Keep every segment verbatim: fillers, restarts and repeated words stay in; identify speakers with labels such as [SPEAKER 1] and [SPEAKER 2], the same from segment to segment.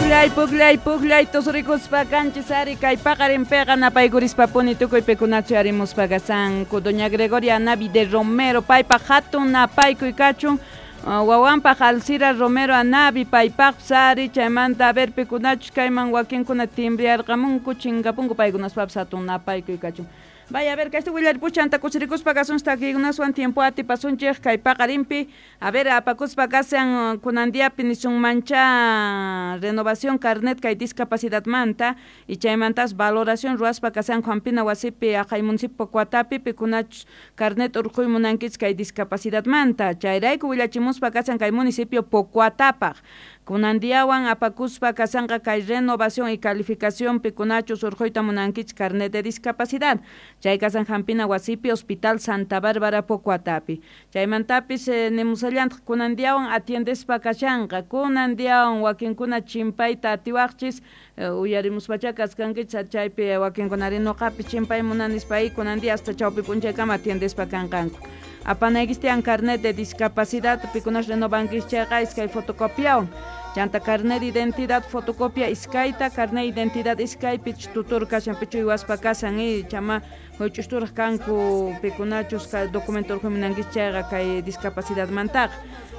[SPEAKER 1] Pukllay, pukllay, pukllay, tusurikuspa kanchis ari kay paqarinpiqa napaykurispa-puni tukuy pikunachu arimuspa kasanku. Doña Gregoria Anavi de Romero, paypaq hatun napaykuy kachun. Wawanpaq Alcira Romero Anavi, paypaqpis ari, chaymanta a ver pikunachus kayman wakinkuna timbriarqamunku, chinkapunku paykunaspapis hatun napaykuy kachun. Vaya a ver, kayta willaripuchanta kusirikuspa kasunchik takiykunaswan tiempo atipasunchik kay paqarinpi. A ver, apakuspa kasan kunan diapi nisunmancha renovación carnet kay discapacidadmanta y chaymantas valoración ruwaspa kasan Hampina wasipi aqhay municipio Pocoatapi pikunachus carnet urquy munankichik kay discapacidadmanta. Chayrayku willachimuspa kasan kay municipio Pocoatapaq. Kunan diawan apakuspa kasanqa kay renovación y calificación pikunachus urquyta munankichik carnet de discapacidad. Chay kasan Hampina wasipi Hospital Santa Bárbara Pocoatapi. Chaymantapis eh, nimusallantaq kunan diawan atiendespa kashanqa. Kunan diawan wakinkuna chimpayta atiwaqchis eh, uyarimuspacha kaskankichik chaypi wakinkunari nuqapis chimpay munanispa kunan dia hasta chawpi p'unchaykama atiendespa kanqanku. Apanaykis tiyan carnet de discapacidad pikunas renovankis chayqa iskay fotocopiawan. Chanta carnet de identidad fotocopia iskayta, carnet de identidad iskay pich tutor kashan pichu uywaspa kasan y chama huch'usturaq kanku pikunachus documento urqumunankichik chayqa kay discapacidadmantaqa.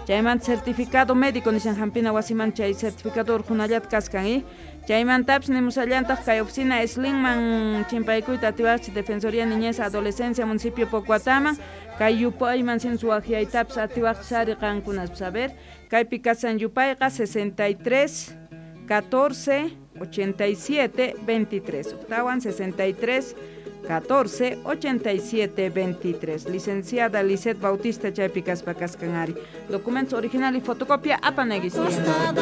[SPEAKER 1] Chaymanta certificado médico nishan hampina wasiman chay certificado urqunallata kaskan y chaymantapis nimusallantaq kay oficina Slimman chimpaykuyta atiwaqchik Defensoría Niñez Adolescencia municipio Pocoataman kay yupayman sin suwaqyaytapis atiwaqchik ari qankunaspis. A ver, kaypi kasan yupayqa sesenta y tres, catorce, ochenta y siete, veintitrés. Octawan sesenta y tres, catorce, ochenta y siete, veintitrés. Licenciada Lisette Bautista chaypi kaspa kaskan ari. Documentos original y fotocopia apanaykichik.